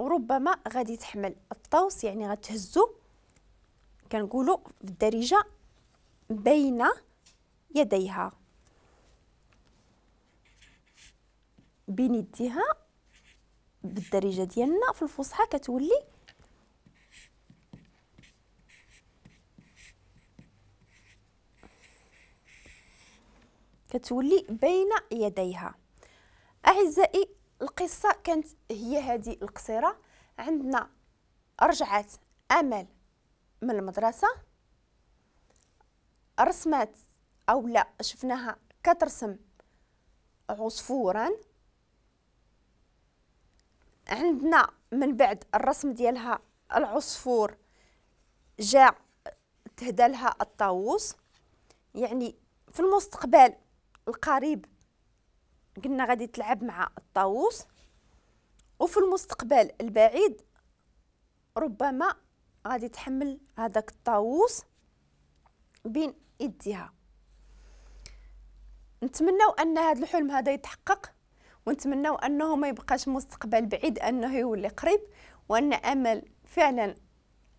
وربما غادي تحمل الطوس، يعني غتهزو، كنقولوا بالدارجة بين يديها، بين يديها بالدارجة ديالنا. في الفصحى كتولي بين يديها. أعزائي القصة كانت هي هذه القصيرة. عندنا رجعت أمل من المدرسة، رسمت أو لا شفناها كترسم عصفورا. عندنا من بعد الرسم ديالها العصفور جاء تهدى لها الطاووس، يعني في المستقبل القريب قلنا غادي تلعب مع الطاووس، وفي المستقبل البعيد ربما غادي تحمل هذاك الطاووس بين يديها. نتمناو ان هذا الحلم هذا يتحقق، ونتمناو انه ما يبقاش مستقبل بعيد، انه يولي قريب، وان امل فعلا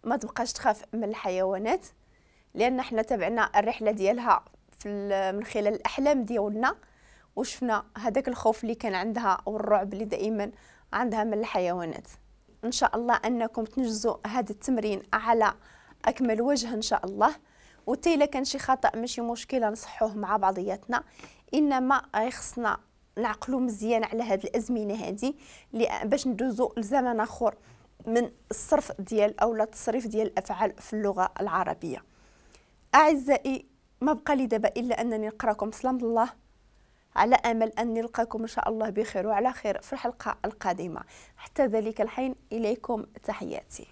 ما تبقاش تخاف من الحيوانات، لان حنا تبعنا الرحلة ديالها من خلال الاحلام ديالنا، وشفنا هذاك الخوف اللي كان عندها والرعب اللي دائما عندها من الحيوانات. ان شاء الله انكم تنجزوا هذا التمرين على اكمل وجه ان شاء الله، وحتى الا كان شي خطا ماشي مشكلة نصحوه مع بعضياتنا، انما خصنا نعقلوا مزيان على هذه الازمنة هذه باش ندوزوا لزمن اخر من الصرف ديال او لا التصريف ديال الافعال في اللغة العربية. اعزائي ما بقى لي دابا الا انني نقراكم سلام الله، على امل ان نلقاكم ان شاء الله بخير وعلى خير في الحلقة القادمة. حتى ذلك الحين اليكم تحياتي.